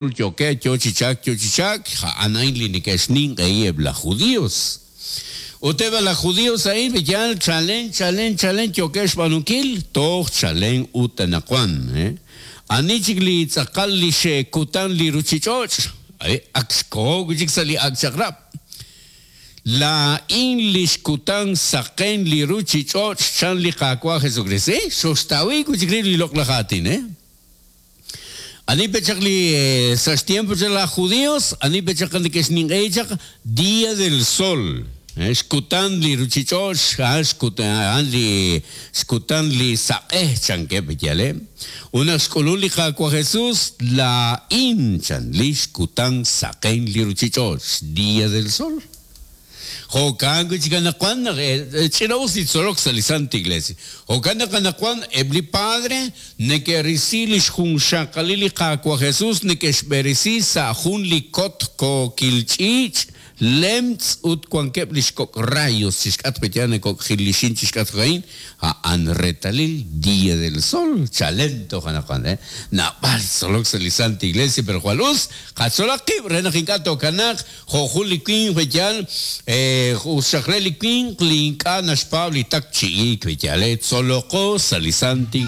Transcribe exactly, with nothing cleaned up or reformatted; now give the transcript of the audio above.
Yookeb' yo chi chalk, yo chi chalk, a'an a'in li neke'xninq'ehi eb' laj judíos. Ut eb' laj judíos a'in yal chalen chalen chalen yookeb' xb'aanunkil toj chalen ut anaqwan. Ani chik li tz'aqal li xkutan li ruuchich'och'? Ak xkoho wi' chik sa' li ak' chaq'rab'. Laa'in li xkutan saqen li ruuchich'och', chan li Qaawa' Jesucrist. Xoxtawi wi' chik li loq'laj aatin, eh? Ani pe chaq li sa' xtiempo chaq laj judíos, ani pe chaq neke'xninq'ehi chaq Día del Sol. Xkutan li ruuchich'och', xkutan li xkutan li saq'ej chankeb' yale. Ut naq xk'ulun li Qaawa' Jesús, laa'in chan li xkutan saqen li ruuchich'och', Día del Sol. Jo'kan wi' chik anaqwan naq ch'ina-us li tzolok sa' li Santa Iglesia. Jo'kan naq anaqwan eb' li padre neke'risi li xjunxaqalil li Qaawa' Jesús, neke'xb'eresi sa' jun li kot kookil ch'iich', lemtz' ut wankeb' li xkok' rayos chixk'atq pe yaal nekok' jilixin chixk'atq a'in, a'an reetalil Día del Sol, chalen toj anaqwan, eh? Naab'al tzolok sa' li Santa Iglesia, pero jwal us, qatzolaq qib' re naq ink'a' tookanaaq jo' jun li winq pe yaal, us xaq re li winq li ink'a' naxpaab' li takchi'ik pe yaal, tzoloqo sa' li Santa